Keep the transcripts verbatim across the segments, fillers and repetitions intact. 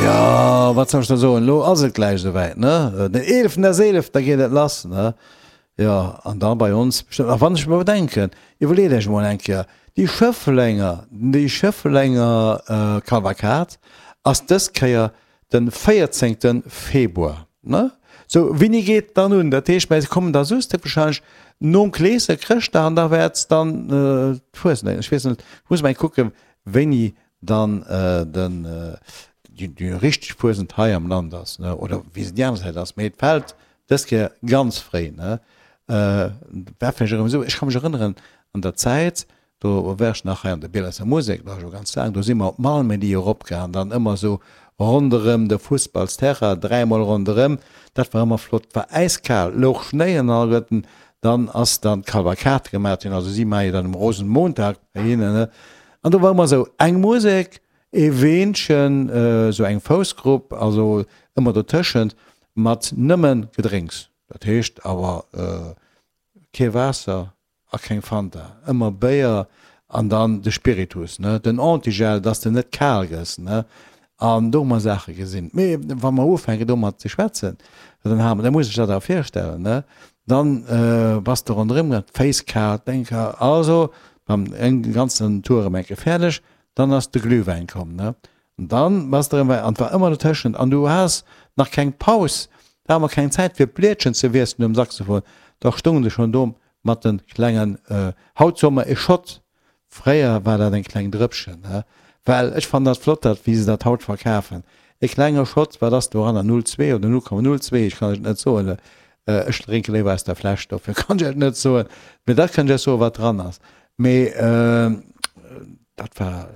Jo, wat soll ech da soen, elo ass et gläich esouwäit, ne? Den eeleften des eelefter geet et lass, ne? Jo, an da bei ons bestëmmt. A wann ech mer bedenken, iwwerleet Iech emol eng Kéier, déi Schëfflenger, déi Schëfflenger Kavalkad ass dës Kéier de véierzéngte Februar, ne? Sou, wéini geet dann un? Dat heescht, mä se kommen da soustek wahrscheinlech nom Kleesche, Chrëschtdag an da wäert dann d'Fuesent, ech weess net, ech muss mol eng kucken, wéini dann den, déi richteg Fuesent hei am Land ass, ne, oder wéi se déi aner Säit ass, mee et fält dës Kéier ganz fréi, ne. War vläicht erëm esou, ech ka mech erënneren an der Zäit, do war ech nach hei an der Bielesser Musek, dat ass scho ganz laang, do si mer op Malmedy eropgaang, dann ëmmer esou ronderëm de Fussballsterrain, dräimol ronderëm, dat war ëmmer flott, war äiskal, louch Schnéi an alleguerten, dann ass dann d'Kavalkad gemat ginn, also si maache jo dann um Rosenmontag bei hinnen, ne, an do war ëmmer esou eng Musek, ee Weenchen, esou eng Foussgrupp, also ëmmer dotëschent, mat nëmme Gedrénks, dat heescht awer kee Waasser a keng Fanta, ëmmer Béier an dann de Spiritus, ne, den Antigel, dass de net kal gëss, ne, an do hu mer Saache gesinn. Mee wa mer ufänken domat ze schwätzen, dann ha mer, da muss ech dat awer virstellen, ne, dann bass de ronderëm gaang, d'Féiss kal, d'Déng kal, also beim en ganzen Tour erëm eng Kéier fäerdeg, dann ass de Glühwäin komm, ne, an dann bass de erëm, an et war ëmmer dotëschent an du has nach keng Paus, da hat mer keng Zäit fir d'Blietchen ze wiesselen um Saxophon, da stoungen se schonn do mat de klengen, haut soe mer e Schott, fréier war dat eng kleng Drëppchen, ne, well ech fannen dat flott, dat wéi se dat haut verkafen, e klenge Schott, wat ass doranner, null zwee oder null Komma null zwee, ech kann et net soen, ech drénke léiwer aus der Fläsch, dofir kann ech et net soen, mee dat kann ech iech soen, wat dran ass, mee dat war,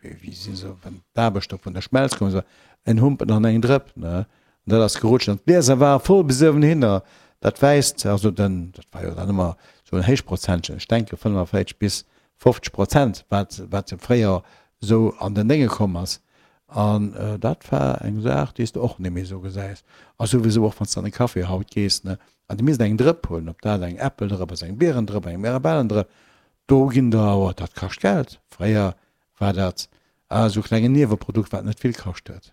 wéi si se, wann d'Aarbechter vun der Schmelz komm sinn, en Humpen an eng Drëpp, ne, an dat ass gerutscht an d'Glieser ware voll bis uewenhinner, dat Wäisst, also den, dat war jo dann ëmmer esou en Héichprozentchen, ech denke fënnefavierzeg bis fofzeg Prozent, wat, wat fréier esou an den Dénge komm ass. An dat war eng Saach, déi s de och net méi esou gesäis. A souwisou och, wann s de an e Café haut gees, ne, an de misst eng Drëpp huelen, ob dat eng Äppeldrëpp ass, eng Bierendrëpp, eng Mirabellendrëpp, do ginn der awer, dat kascht Geld. Fréier war dat esou e klengen Nieweprodukt, wat net vill kascht huet.